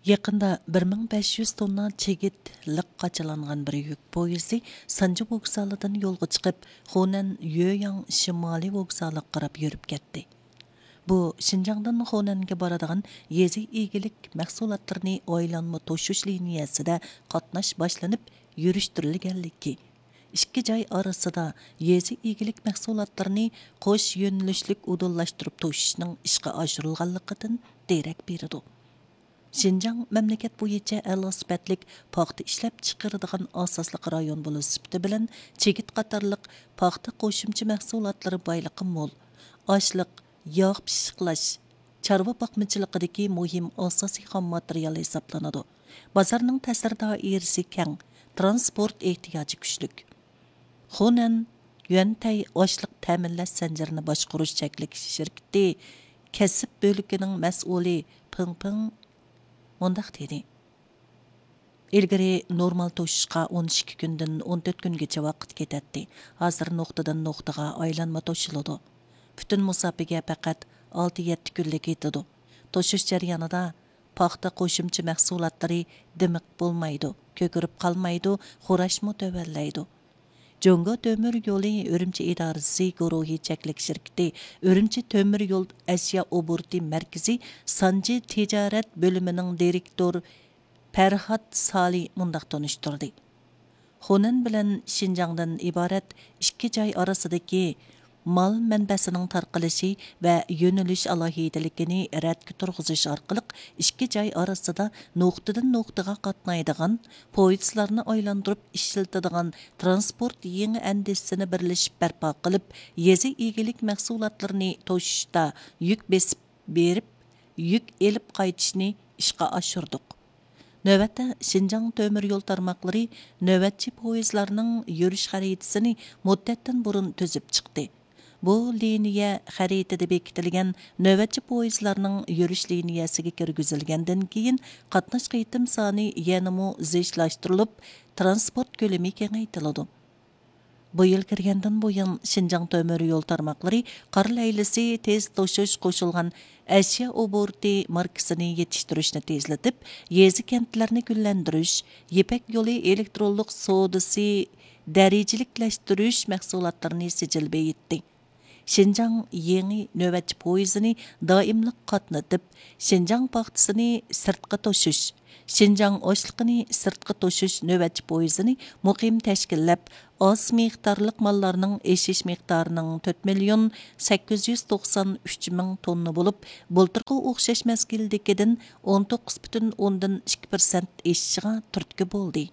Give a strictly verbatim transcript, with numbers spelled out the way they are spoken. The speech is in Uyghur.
يېقىندا بىر مىڭ بەش يۈز توننا چىگىت لىق قاچىلانغان بىر يۈك پويىزى سانجى ۋوگزالىدىن يولغا چىقىپ، خۇنەن يۆياڭ شىمالىي ۋوگزالىغا قاراپ يۈرۈپ كەتتى. بۇ شىنجاڭدىن خۇنەنگە بارىدىغان يېزا ئىگىلىك مەھسۇلاتلىرىنى ئايلانما توشۇش لىنىيەسىدە قاتناش باشلىنىپ يۈرۈشتۈرۈلگەنلىكى، ئىككى جاي ئارىسىدا يېزا ئىگىلىك مەھسۇلاتلىرىنى قوش يۆنىلىشلىك ئۇدۇللاشتۇرۇپ توشۇشنىڭ ئىشقا ئاشۇرۇلغانلىقىدىن دېرەك بېرىدۇ. شىنجاڭ مەملىكەت بويىچە ئەلا سۈپەتلىك پاختا ئىشلەپچىقىرىدىغان ئاساسلىق رايون بولۇش سۈپىتى بىلەن چىگىت قاتارلىق پاختا قوشۇمچە مەھسۇلاتلىرى بايلىقى مول. ئاشلىق، ياغ پىششىقلاش، چارۋا باقمىچىلىقىدىكى مۇھىم ئاساسىي خام ماتېرىيال ھېسابلىنىدۇ. بازارنىڭ تەسىر دائىرىسى كەڭ، ترانسپورت ئېھتىياجى كۈچلۈك. خۇنەن يۈەنتەي ئاشلىق تەمىنلەش زەنجىرىنى باشقۇرۇش چەكلىك شىركىتى كەسىپ بۆلىكىنىڭ مەسئۇلى پېڭ پېڭ مۇنداق دېدى: «ئىلگىرى نورمال توشۇشقا ئون ئىككى كۈندىن ئون تۆت كۈنگىچە ۋاقىت كېتەتتى. ھازىر نۇقتىدىن نۇقتىغا ئايلانما توشۇلىدۇ. پۈتۈن مۇساپىگە پەقەت ئالتە يەتتە كۈنلا كېتىدۇ. توشۇش جەريانىدا پاختا قوشۇمچە مەھسۇلاتلىرى دىمىق بولمايدۇ، كۆكىرىپ قالمايدۇ، خوراشمۇ تۆۋەنلەيدۇ.» جۇڭگو تۆمۈر يولى ئۈرۈمچى ئىدارىسى گۇرۇھى چەكلىك شىركىتى ئۈرۈمچى تۆمۈر يول ئەشيا ئوبوروتى مەركىزى سانجى تىجارەت بۆلۈمىنىڭ دىرېكتور پەرھات سالى مۇنداق تونۇشتۇردى: «خۇنەن بىلەن شىنجاڭدىن ئىبارەت ئىككى جاي ئارىسىدىكى مال مەنبەسىنىڭ تارقىلىشى ۋە يۆنىلىش ئالاھىدىلىكىنى رەتكە تۇرغۇزۇش ئارقىلىق ئىككى جاي ئارىسىدا نۇقتىدىن نۇقتىغا قاتنايدىغان، پويىزلارنى ئايلاندۇرۇپ ئىشلىتىدىغان ترانسپورت يېڭى ئەندىزىسىنى بىرلىشىپ بەرپا قىلىپ، يېزا ئىگىلىك مەھسۇلاتلىرىنى توشۇشتا يۈك بېسىپ بېرىپ، يۈك ئېلىپ قايتىشنى ئىشقا ئاشۇردۇق.» نۆۋەتتە، شىنجاڭ تۆمۈر يول تارماقلىرى نۆۋەتچى پويىزلارنىڭ يۈرۈش خەرىتىسىنى مۇددەتتىن بۇرۇن تۈزۈپ چىقتى. بۇ لىنىيە خەرىتىدە بېكىتىلگەن نۆۋەتچى پويىزلارنىڭ يۈرۈش لىنىيەسىگە كىرگۈزۈلگەندىن كېيىن، قاتناش قېتىم سانى يەنىمۇ زىچلاشتۇرۇلۇپ، ترانسپورت كۆلىمى كېڭەيتىلىدۇ. بۇ يىل كىرگەندىن بۇيان، شىنجاڭ تۆمۈر يول تارماقلىرى قار لەيلىسى تېز توشۇش قوشۇلغان ئەشيا ئوبوروتى ماركىسىنى يېتىشتۈرۈشنى تېزلىتىپ، يېزا، كەنتلەرنى گۈللەندۈرۈش، يىپەك يولى ئېلېكترونلۇق سودىسى دەرىجىلىكلەشتۈرۈش مەھسۇلاتلىرىنى سىجىل بېيىتتى. شىنجاڭ يېڭى نۆۋەتچى پويىزىنى دائىملىق قاتنىتىپ، شىنجاڭ پاختىسىنى سىرتقا توشۇش، شىنجاڭ ئاشلىقىنى سىرتقا توشۇش نۆۋەتچى پويىزىنى مۇقىم تەشكىللەپ، ئاز مىقدارلىق ماللارنىڭ ئېشىش مىقدارىنىڭ تۆت مىليون سەككىز يۈز توقسان ئۈچ مىڭ توننا بولۇپ، بۇلتۇرقى ئوخشاش مەزگىلدىكىدىن ئون توققۇز پۈتۈن ئوندىن ئىككى پىرسەنت ئېشىشىغا تۈرتكە بولدى.